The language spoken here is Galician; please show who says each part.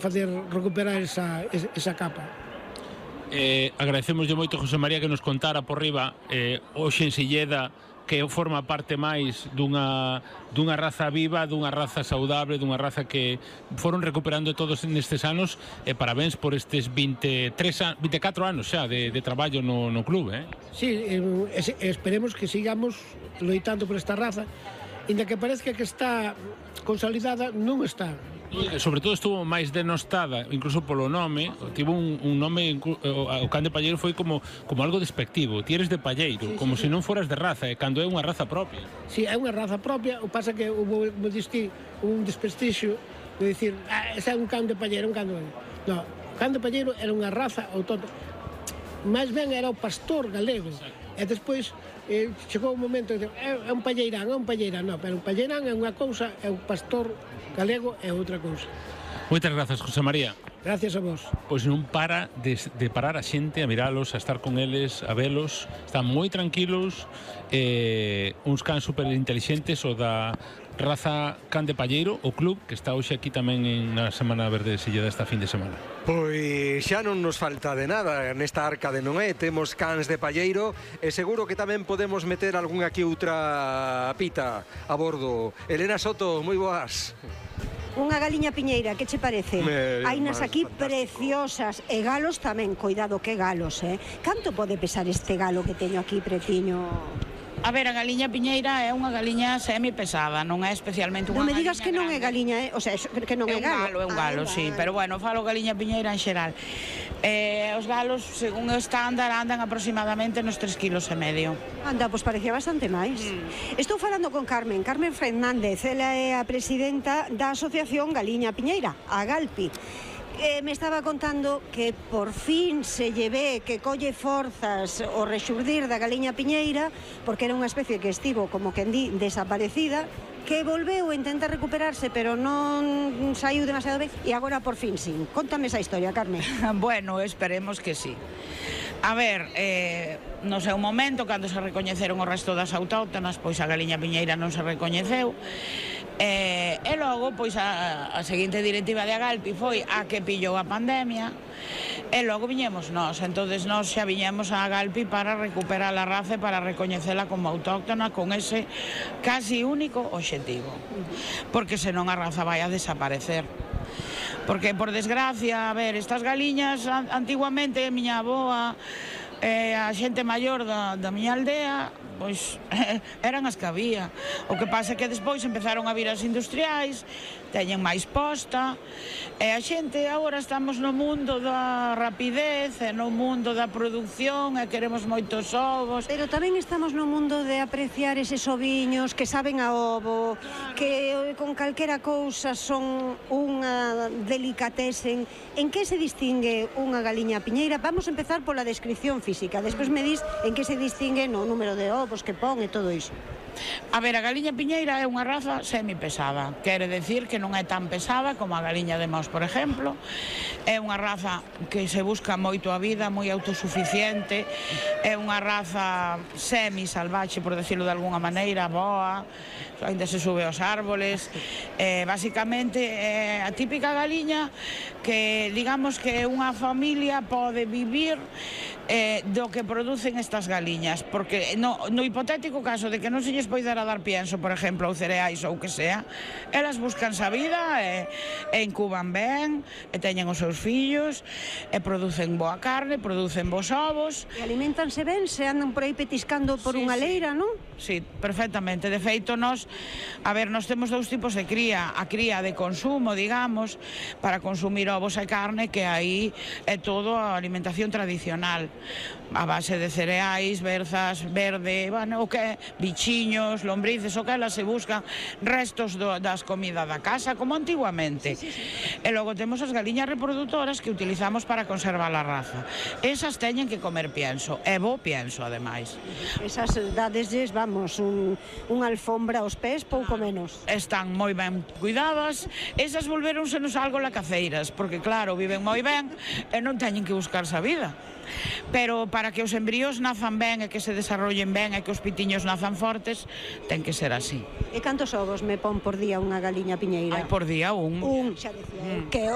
Speaker 1: facer recuperar esa capa.
Speaker 2: Agradecemoslle moito, José María, que nos contara por riba hoxe en Silleda que forma parte máis dunha raza viva, dunha raza saudable, dunha raza que foron recuperando todos nestes anos, e parabéns por estes 24 anos xa de traballo no club,
Speaker 1: Sí, esperemos que sigamos loitando por esta raza, inda que parezca que está consolidada, non está.
Speaker 2: Sobre todo estuvo máis denostada, incluso polo nome, tivo un nome, o can de Palleiro foi como algo despectivo, ti eres de Palleiro, como se non foras de raza, e cando é unha raza propia.
Speaker 1: Si, é unha raza propia, o pasa que hubo, como diste, un desprestixio de dicir, ese é un can de Palleiro, un can de... Non, o can de Palleiro era unha raza autóctona, máis ben era o pastor galego. E despois chegou un momento de é un palleirán, non, pero un palleirán é unha cousa, é un pastor galego é outra cousa.
Speaker 2: Moitas grazas, José María.
Speaker 1: Gracias a vos.
Speaker 2: Pois non para de parar a xente a miralos, a estar con eles, a velos, están moi tranquilos, uns cans super intelixentes, o da raza Can de Palleiro, o club que está hoxe aquí tamén na Semana Verde de Silleda esta fin de semana.
Speaker 3: Pois xa non nos falta de nada nesta arca de Noé, temos cans de Palleiro e seguro que tamén podemos meter algunha que outra pita a bordo. Elena Soto, moi boas.
Speaker 4: Unha galiña piñeira, que che parece? Hainas aquí preciosas e galos tamén, coidado que galos, Canto pode pesar este galo que teño aquí pretiño?
Speaker 5: A ver, a galiña piñeira é unha galiña semi-pesada, non é especialmente unha
Speaker 4: galiña. Non me digas que non é
Speaker 5: grande.
Speaker 4: galiña, o sea, que non é galo.
Speaker 5: É un galo, sí, pero bueno, falo galiña piñeira en xeral. Os galos, según o estándar, andan aproximadamente nos 3,5 kg.
Speaker 4: Anda, pois parecía bastante máis. Estou falando con Carmen Fernández, ela é a presidenta da Asociación Galiña Piñeira, a Galpi. Me estaba contando que por fin se lle ve que colle forzas o rexurdir da galiña piñeira, porque era unha especie que estivo, como quen di, desaparecida, que volveu a intentar recuperarse, pero non saiu demasiado ben, e agora por fin sí. Contame esa historia, Carmen.
Speaker 5: Bueno, esperemos que sí. A ver, no seu momento, cando se recoñeceron o resto das autóctonas, pois a galiña piñeira non se recoñeceu, e logo, pois a seguinte directiva de Agalpi foi a que pillou a pandemia, e logo viñemos nós, entonces nós xa viñemos a Agalpi para recuperar a raza e para recoñecela como autóctona con ese casi único obxectivo, porque senón a raza vai a desaparecer. Porque, por desgracia, a ver, estas galiñas, antiguamente, miña avoa, a xente maior da miña aldea, pois eran as que había. O que pasa é que despois empezaron a vir as industriais, teñen máis posta, e a xente agora estamos no mundo da rapidez, e no mundo da produción, e queremos moitos ovos.
Speaker 4: Pero tamén estamos no mundo de apreciar eses oviños que saben a ovo, que con calquera cousa son unha delicatesen. En que se distingue unha galiña piñeira? Vamos a empezar pola descripción física, despois me dis en que se distingue no número de ovos que pon e todo iso.
Speaker 5: A ver, a galiña piñeira é unha raza semipesada, quere decir que non é tan pesada como a galiña de Mos, por exemplo. É unha raza que se busca moito a vida, moi autosuficiente, é unha raza semi-salvaxe, por decirlo de alguna maneira, boa, ainda se sube aos árboles. Basicamente é a típica galiña que, digamos, que unha familia pode vivir do que producen estas galiñas, porque no hipotético caso de que non se lles poidera dar pienso, por exemplo, ou cereais ou que sea, elas buscanse a vida e incuban ben, e teñen os seus fillos, e producen boa carne, producen bons ovos.
Speaker 4: E alimentanse ben, se andan por aí petiscando por unha leira, non?
Speaker 5: Sí, perfectamente. De feito, nós temos dous tipos de cría. A cría de consumo, digamos, para consumir ovos e carne, que aí é todo a alimentación tradicional, a base de cereais, berzas, verde, bueno, o que bichiños, lombrices, o que elas se buscan restos das comidas da casa, como antiguamente. E logo temos as galiñas reproductoras que utilizamos para conservar a raza. Esas teñen que comer pienso, e bo pienso, ademais.
Speaker 4: Esas dadesles, vamos, unha alfombra aos pés, pouco menos.
Speaker 5: Están moi ben cuidadas, esas volvéronsenos algo lacaceiras, porque claro, viven moi ben e non teñen que buscarse a vida. Pero para que os embríos nazan ben e que se desarrollen ben e que os pitiños nazan fortes, ten que ser así.
Speaker 4: E cantos ovos me pon por día unha galiña piñeira?
Speaker 5: Por día un.
Speaker 4: Xa decía, que